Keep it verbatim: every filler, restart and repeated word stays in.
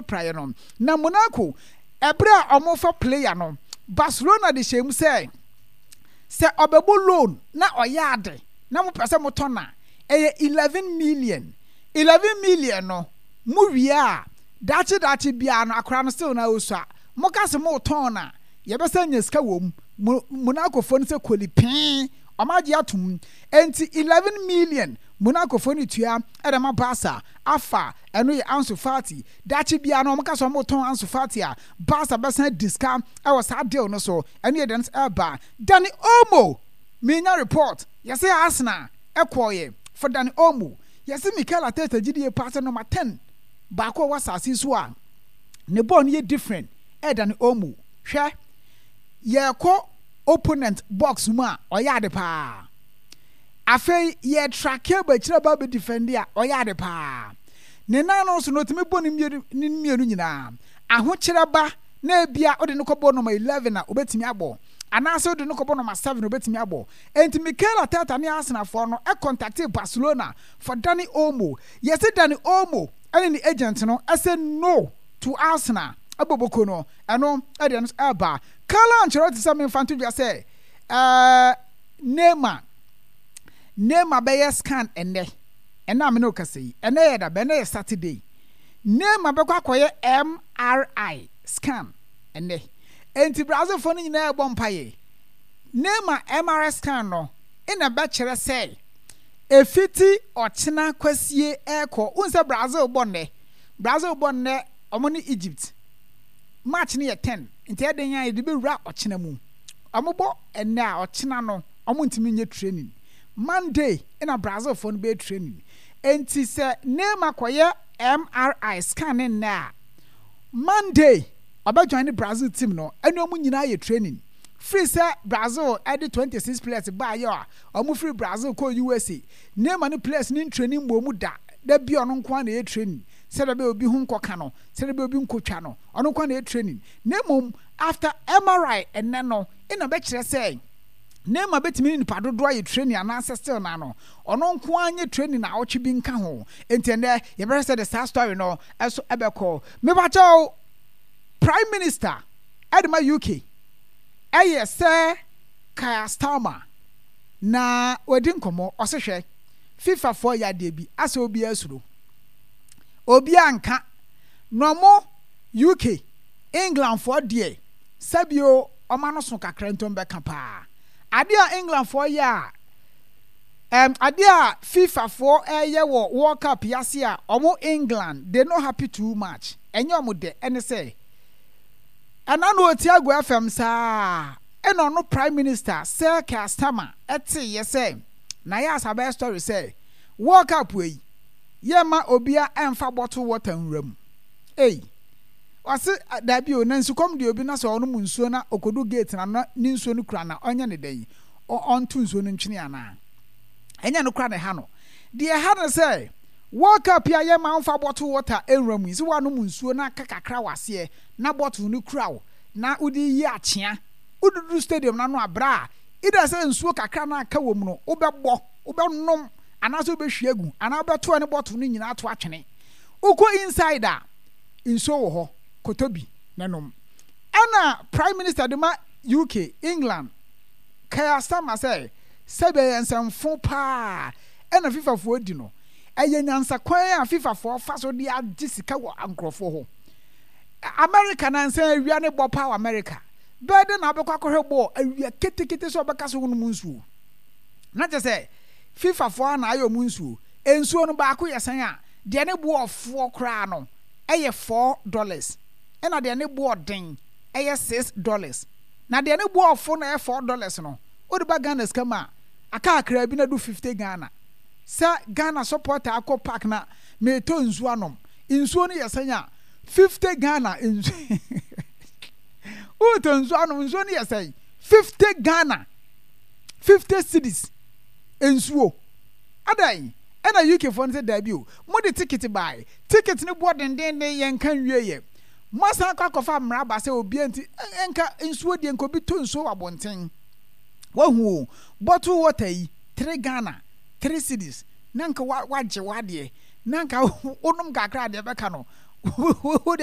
Praeɛ no. Na Monaco, ɛberɛ a wɔrefa player no, Barcelona de hyɛɛ mu sɛ, sɛ ɔbɛbɔ loan na ɔyɛ ade na mopɛ sɛ motɔ no a, ɛyɛ eleven million. Eleven million no, mowie a, daakye daakye biara no, akwadaa no still na ɔsua. Moka sɛ moretɔn no a, yɛbɛsan anya sika wɔ mu. Mo, Monacofoɔ no sɛ koli pee, wɔagye atom. Enti eleven million Monacofoɔ no tua de ma Barca afa, ɛno yɛ Ansu Fati. Daakye biara no wɔka sɛ wɔretɔn Ansu Fati a, Barca bɛsan adi sika wɔ saa deal no so. Ɛno yɛ deɛ ɛreba. Dani Olmo, menya report, yɛse Arsenal kɔɔeɛ for Dani Olmo. Yɛse Mikel Arteta gye die paa sɛ number ten baako a ɔwɔ asase yi so a ne bɔɔl no yɛ different ɛyɛ Dani Olmo. Hwɛ, yɛrekɔ opponent box mu a, ɔyɛ ade paa. Afei yɛ tracke ba akyire ba bɛ defend a, ɔyɛ ade paa. Ne nan no nso no, ɔtumi bɔ ne mmienu ne mmienu nyinaa. Ahokyerɛ ba na ebia wode no kɔbɔ number eleven a, obetumi abɔ. Anaasɛ wode no kɔbɔ number seven a, obetumi abɔ. Enti Mikel Arteta ne Arsenalfoɔ no contactee Barcelona for Dani Olmo. Yɛse Dani Olmo ne ne agent no sɛ no to Arsenal aboboko no, ɛno deɛ no ɛreba. Carlo Ancelotti sɛ memfa nto dwa sɛ ɛɛ Neymar Neymar bɛyɛ scan ɛnnɛ. Ɛnnɛ a me ne wo kasa yi, ɛnnɛ yɛ da bɛn? Ɛnnɛ yɛ Saturday. Neymar bɛkɔ akɔyɛ M R I scan ɛnnɛ. Enti Brazilfoɔ no nyinaa ɛrebɔ mpaeɛ. Neymar M R I scan no ɛna ɛbɛkyerɛ sɛ ɛfiti ɔkyena kwasie ɛrekɔ. Wohu sɛ Brazil bɔ nnɛ. Brazil bɔ nnɛ, wɔn ne Egypt. Match no yɛ ten, nti ɛden a yɛde bɛwura ɔkyena mu. Wɔbɔ ɛnnɛ a, ɔkyena no wɔntumi nyɛ training. Monday na Brazilfoɔ no bɛyɛ training. Enti sɛ Neymar kɔyɛ M R I scan ne nnɛ a, Monday ɔbɛ join ne Brazil team no ɛne wɔn nyinaa yɛ training. Firi sɛ Brazil ɛde twenty-six players baayɛ a wɔn firi Brazil kɔɔ U S A, Neymar ne players ne training mmɔ mu da. Da bi ɔno nko ara na ɛyɛ training sɛdeɛ ɛbɛyɛ obi ho nkɔka no, sɛdeɛ ɛbɛyɛ obi nkɔtwa no, ɔno nko ara na ɛyɛ training. Na mmom after M R I ɛnnɛ no ɛna bɛkyerɛ sɛ Neymar bɛtumi ne nipa dodoɔ ayɛ training anaasɛ still na no ɔno nko ara nyɛ training na awɔtwe bi nka ho. Nti ɛnnɛ yɛbɛhwɛ sɛ de saa story no ɛso ɛbɛkɔ. Mepakyɛw, Prime Minister ɛde ma U K ɛyɛ Sir Keir Starmer na wadi nkɔmmɔ. Ɔse hwɛ, FIFA foɔ yɛ adeɛ bi asɛ obiara suro, obiara nka na ɔmo U K England foɔ deɛ sɛbio ɔma no so kakra ntom bɛka paa. Adeɛ a England foɔ yɛ a um, adeɛ a FIFA foɔ ɛyɛ wɔ World Cup yase a ɔmo England they no happy too much, ɛnyɛ ɔmo dɛ. Ɛne sɛ ɛna no ɔti agu F M saa ɛna ɔno Prime Minister Sir Keir Starmer ɛte yɛ sɛ na yɛ asa bɛyɛ story sɛ World Cup yi yɛma obia ɛmfa bottle water nwura mu. Ei, ɔse daabi o, na nsukɔm deɛ obi na sɛ ɔnom nsuo na ɔkɔdu gate na na ne nsuo no kura na ɔnyɛ ne dɛn, ɔnto nsuo no ntwene anaa? Ɛnyɛ no kora na ɛha no deɛ. Ɛha no sɛ World Cup yi a yɛma mfa bottle water nwura mu yi, sɛ woanom nsuo na aka kakra wɔ aseɛ na bottle no kura wo na wode yi akyea woduduru stadium no ano abrɛ a, either sɛ nsuo kakra na aka wɔ mu no wobɛbɔ wobɛnom anaasɛ wobɛhwie agu anaa wobɛto ɛne bottle no nyinaa to atwene. Wokɔ inside a, nsuo wɔ hɔ, kɔtɔ bi na nom. Ɛna Prime Minister de ma U K, England, Keir Starmer sɛ sɛbi ɛyɛ nsɛmfo paa ɛna FIFA foɔ di no. Ɛyɛ nyansakwan a FIFA foɔ fa so de agye sika wɔ nkurɔfoɔ hɔ. America nansa awia ne bɔ paa wɔ America bɛɛ de na abɛkɔ akɔhwɛ bɔɔl awia ketekete sɛ ɔbɛka so wonom nsuo na kyɛ sɛ FIFA foɔ a na ayɛ ɔmo nsuo. Nsuo no baako yɛ sɛn a, deɛ ne boɔ ɔfoɔ koraa no ɛyɛ four dollars, ɛna deɛ ne boɔ den ɛyɛ six dollars. Na deɛ ne boɔ ɔfo no ɛyɛ four dollars no, wode ba Ghana sika mu a, aka akra bi na do fifty Ghana. Sɛ Ghana supporter akɔ park na meetɔ nsuo anom, nsuo no yɛ sɛn a, fifty Ghana. Nsuo wotɔ nsuo anom, nsuo no yɛ sɛn? Fifty Ghana, fifty cedis nsuo adan. Ɛna U K foɔ no sɛ daabi o, mode ticket bae, ticket no boɔ dendenden, yɛn nka nwie yɛ moasan akɔ akɔfa mmara ba sɛ obiara nti nka nsuo deɛ nka obi tɔ nsuo wɔ abɔnten. Wahu o, bottle water yi three Ghana, three cedis na nka wagye wadeɛ na nka wonom kakra adeɛ bɛka no. Wode